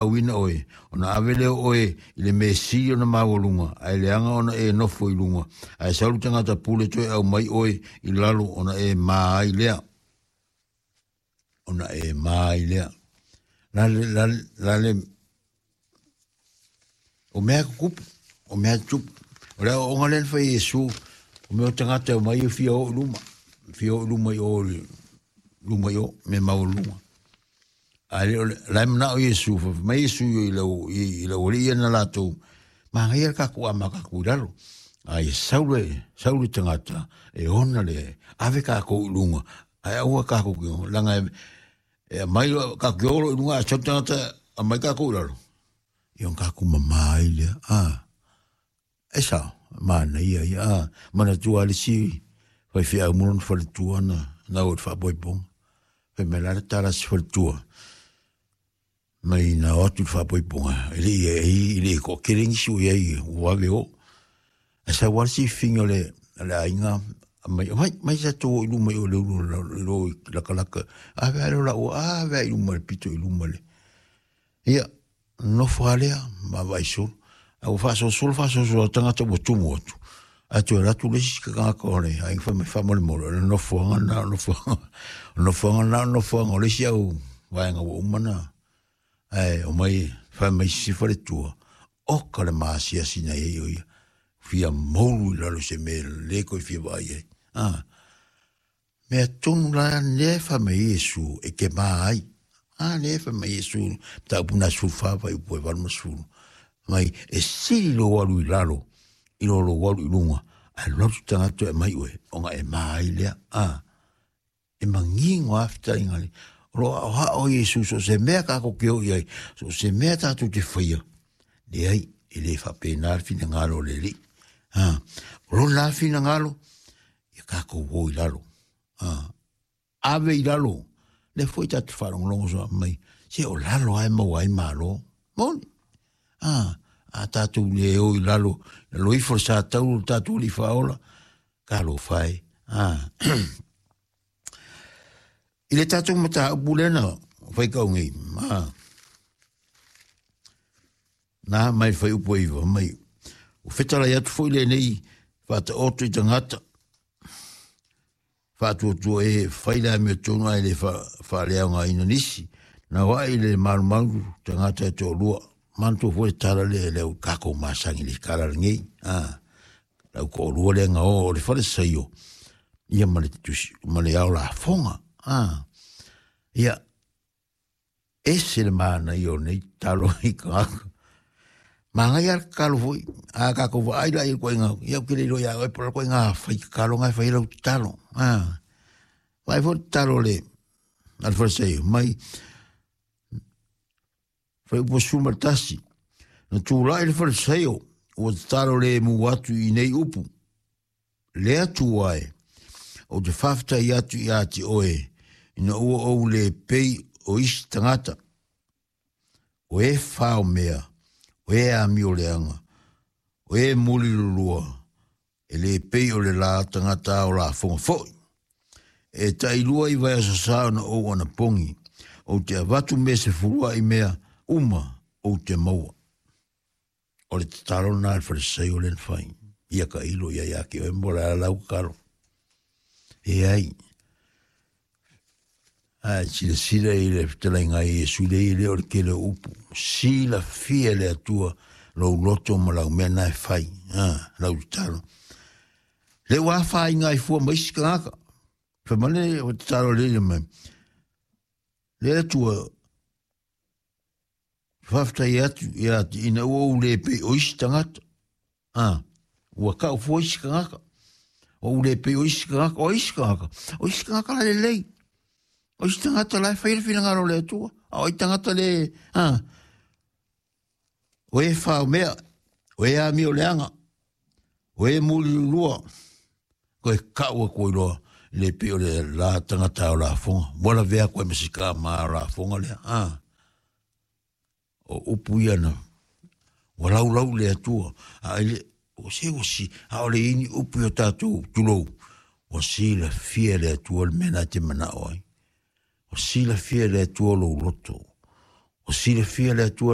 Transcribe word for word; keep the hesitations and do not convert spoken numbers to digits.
Auina oe, ona ave lea o oe i le mea sili ona maualuga, ae leaga ona e nofo i luga, ae sau le tagata pule toe aumai oe i lalo ona e ma ai lea. Ona e ma ai lea. La le, la, la le, o mea kukupu, o mea tupu. O le aoaoga lea na fai e Iesu, o mea o tagata e omai e fia o i luma, fia o i luma i o, luma i o, mea maualuluga. A le o le la e manao Iesu, fai mai Iesu i lau i lau alii ia na latou, manaia le kakou a makakou i lalo. A ia sau le, sau le tagata e ona le ave kakou i luga, ae aua kakou ki leaga e, e aumai kakou ki olo i luga ae sau le tagata aumai kakou i lalo. Ia ona kakou mama ai lea. A, e sao, manaia ia. A, manatua le isi faifeau mo lona faletua na, na o i le faapoipoga. Fai mai la le tala a si faletua, mai na o atu i le faapoipoga, e le i e le i toatele nisi o i ai ua vave o. Ae sau lava le sififiga o le, le aiga, mai, mai, mai sa tou o i luma i o le ulu lo i lakalaka. Ave a lea o laua, ave a i luma le pito i luma le. Ia, nofo lava lea, ma vaai solo. Ae ua faasolosolo faasolosolo a tagata ua tumu atu. Ae toe alu atu le isi tagata o le aiga fai mai faamolemole, o le nofoaga lena, o le nofoaga, o le nofoaga lena, o le nofoaga o le isi au vaega ua uma na. Ae omai fai mai sisi faletua, oka le maasiasi na i ai o ia. Fia moulu i lalo se mea le koe fia vaai ai. Ah. Mea tonu la lea e fai mai Iesu e te mā ai. Ah, lea e fai mai Iesu, mataupu na sefulufa fuaiupu e valu ma sefulu. Mai e sili lou alu i lalo, i lo lou alu i luga, ae alu atu tagata e aumai oe, ona e mā ai lea. Ah. E manino lava fetalaiga le. O lo o aoao Iesu so o se mea tatou te o i ai, so o se mea tatou te faia, leai, e le faapena le finagalo o le Alii. Ha, o lona lava finagalo, ia tatou o i lalo. Ha, ave i lalo. Lea foi tatou faalogologo soa mai, se o lalo lava e maua ai malo. Moni. Ha, a tatou le o i lalo, lalo ifo le sa taulu o le tatou Alii Faaola, talofa e. Ha. I le tatou mataupu lea na faitau nei, ma na mai le fuaiupu e iva mai, ua fetalai atu foi lenei faataoto i tagata faatuatua e fai le amiotonu ae le faaleaogaina nisi, na oai le malumalu tagata e toalua. Manatua foi le tala lea le au kakou masani i le tala lenei. Ah, lau toalua lea na o o le falesaio, ia ma le tusi, ma le ao lafoga. Ah, ia, ese le manaia o nei tatalo i tagata. Manaia le tatalo foi, a tatou vaai la i le ituaiga, ia ou te le iloa ia oe po o le ituaiga fai tatalo na e fai ai lau tatalo. Ah, vaai foi le tatalo a le a le falesaio mai, fuaiupu sefulu ma le tasi, na tulai le falesaio, ua tatalo lemu atu i nei upu, le Atua e, ou te faafetai atu ia te oe, ina ua ou le pei o isi tagata, o e fao mea, o e amio leaga, o e mulilulua, e le pei o le la tagata ao lafoga foi. E tailua i vaiaso sa ona ou anapogi, ou te avatu mea sefulua i mea uma ou te maua. O le tatalo lena a le Farisaio lea na fai, ia tailo ia ia te oe mo le a lau tatalo. E ai, ae silasila i le fetalaiga a Iesu lea e le o le tele o upu. Silafia e le Atua lou loto ma lau mea na e fai, a, lau tatalo. Le ua afaina ai fua ma isi tagata. Fai mai le o tatalo le ia mai. Le Atua, faafetai atu ia te ina ua ou le pei o isi tagata. A, ua kau fua isi tagata. O ou le pei o isi tagata, o isi tagata. O isi tagata la lelei. O isi tagata la e fai le finagalo o le Atua. A o ai tagata le, a, o e fao mea, o e amio leaga, o e mulilulua, koe kau atu ai loa, le pei o le la tagata o lafoga. Ua lavea atu ai ma si tama o lafoga lea. A, o upu ia na, ua laulau le Atua. A ele, o se ua si, a o le ini upu i o tatou tulou, ua silafia e le Atua le mea na te manao ai. Ua silafia e le Atua lou loto. O silafia le Atua.